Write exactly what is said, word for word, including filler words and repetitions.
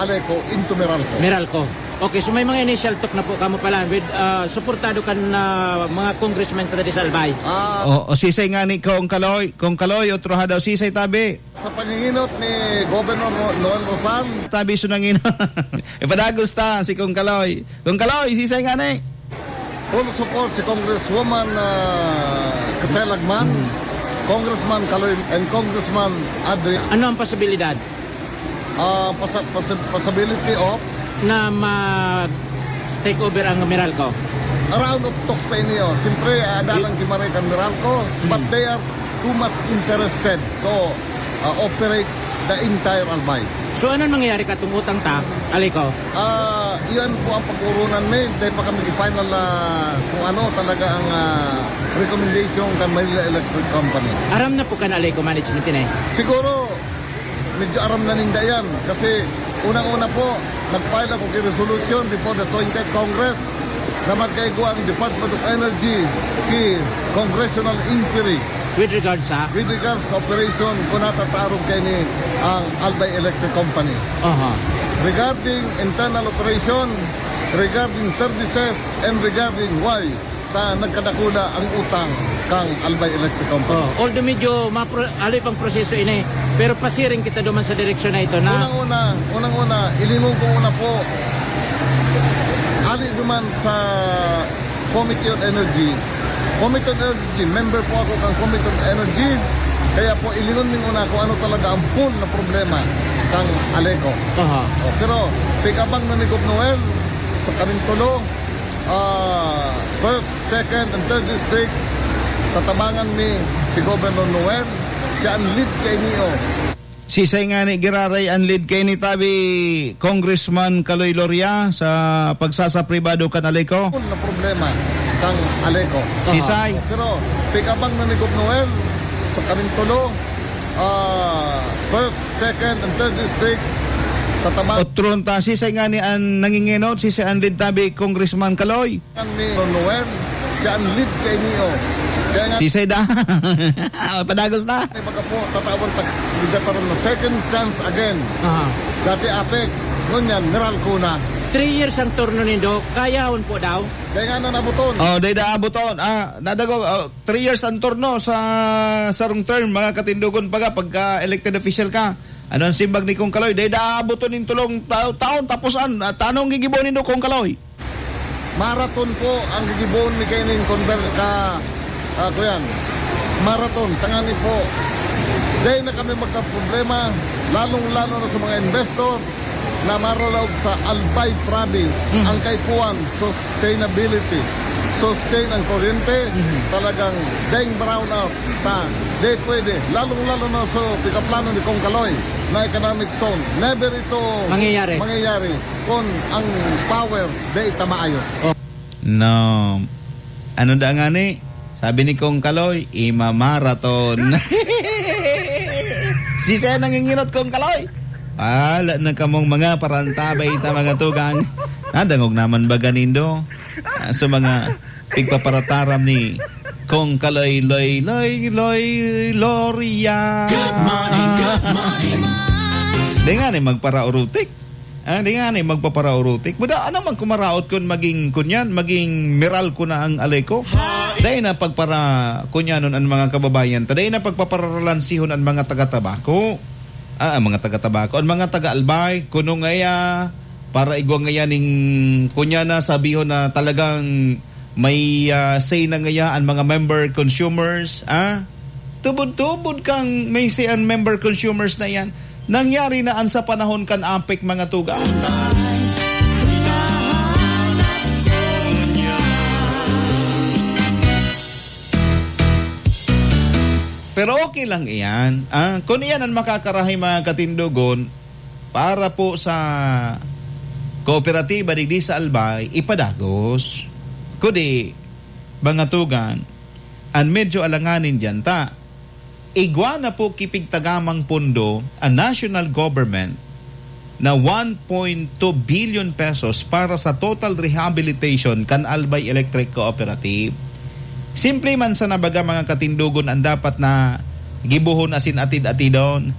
Aleco into Meralco. Meralco. Okay, so may mga initial talk na po kamo pala with, ah, suportado kan, ah, mga congressmen ta diri sa Albay. Ah. O, o, sisay nga ni Kong Kaloy? Kong Kaloy, otro ha daw, sisay tabi? Sa panginginot ni Governor Ro-, Noel Rosal. Tabi, so nangin-, ipadagos ta si Kong Kaloy. Kong Kaloy, sisay nga ni? Full support si Congresswoman, ah, Caselagman, Hmm. Congressman Kaloy, and Congressman Adrian. Ano ang posibilidad? Ah, pasa-, pasa-, possibility of? Na mag-take over ang Meralco? Around of talk pa ini, oh. Siyempre, ah, dalang Y-, gimaray kan Meralco, but Hmm. they are too much interested to, ah, operate the entire Albay. So, anong mangyayari katong utang ta, Aleco? Ah, iyan po ang pag-urunan, may. Dahil pa kami final, ah, kung ano talaga ang, ah, recommendation kan Manila Electric Company. Aram na po kan Aleco management ini? Siguro, medyo aram na ninda yan. Kasi, unang-una po, nag-file ako ki resolution before the twentieth Congress na magkaigwa ang Department of Energy ki congressional inquiry. With regards sa? With regards sa operation, kung natatarong kaini ang Albay Electric Company. Aha. Regarding internal operation, regarding services, and regarding why ta nagkadakula ang utang kang Albay Electric Company. Oh, although medyo mapro-, haloy pang proseso ini, pero pasiring kita duman sa direksyon na ito na Unang-una, unang-una, ilingon ko una po, ali duman sa Committee on Energy. Committee on Energy, member po ako kang Committee on Energy. Kaya po, ilingon ning una kung ano talaga ang full na problema kang Aleco. Aha. Oh, pero, pig-abang na ni Gov Noel, sa kaming tulo, ah, first, second, and third district, tatabangan mi si Governor Noel. Siya ang lead kaini, oh. Sisay nga ni giraray an lead kaini tabi, Congressman Kaloy Loria, sa pagsasapribado kan Aleco? Na problema kang Aleco. Sisay? Pero pig-abang na ni Gov Noel sa kaming tulo, ah, first, second, and third district, sa Tabangan. Otron ta, sisay nga ni an nangingenot, sisay an lead tabi, Congressman Kaloy? Kan ni Noel, siya ang lead kaini, oh. Kaya nga, Sisay da. Oh, padagos na. Ay, baga po, tatawan tag-, ligataron na second chance again. Aha. Dati APEC, ngunyan, Meralco na. Three years ang turno nindo, kayahon po daw? Dai nga na nabuton. Oh, dai da abuton. Ah, nadagog, oh, three years ang turno sa sarong term, mga katindogon, baga, pagka elected official ka. Ano ang simbag ni Kong Kaloy? Dai da abuton nin tulong ta-, taon, tapos an, ah, tanong gigibo nindo, Kong Kaloy? Marathon po ang gigibohon mi kaining conver-, ka, ah, kuyan. Marathon, tangani po. Dai na kami magkaproblema, lalong-lalo na sa mga investor na maralaog sa Albay Province, Mhm. ang kaipuhan, sustainability, sustain ang kuryente, Mhm. talagang daing brownout ta. Dai pwede, lalong-lalo na sa pikaplano ni Kong Kaloy na economic zone. Never ito Mangyayari. mangyayari. Kun ang power, dai ta maayo. Oh. No. Ano da ngani? Sabi ni Kong Kaloy, "Imamarathon." Sisay nanginginot, Kong Kaloy? Wala na kamong mga parantabay ta, mga tugang. Nadangog naman baga nindo? Ah, sa mga pigpaparataram ni Kong Kaloy, Loy, Loy, Loy, Loria. Good morning, good morning. Di nga ni magparaurutik. Ah, di nga ni magpaparaurutik. Buda, ano man kumaraot kun maging, kunyan, maging Meralco na ang Aleco? Dai na pagpara-, kunyanon ang mga kababayan ta. Dai na pagpaparalansihon ang mga taga-Tabaco. Ah, ang mga taga-Tabaco. Ang mga taga-Albay, kuno ngaya, para igwa ngaya ning kunya na, sabihon na talagang may, ah, say na ngaya ang mga member consumers, ah? Tubod-tubod kang may say ang member consumers na yan. Nangyari na an sa panahon kan APEC, mga tugang. Pero okay lang iyan, ah? Kung iyan ang makakarahay, mga katindogon, para po sa kooperatiba digdi sa Albay, ipadagos. Kudi, mga tugang, an medyo alanganin diyan ta, igwa na po ki pigtagamang pondo an national government na one point two billion pesos para sa total rehabilitation kan Albay Electric Cooperative. Simple man sana baga, mga katindogon, an dapat na gibohon asin atid-atidon.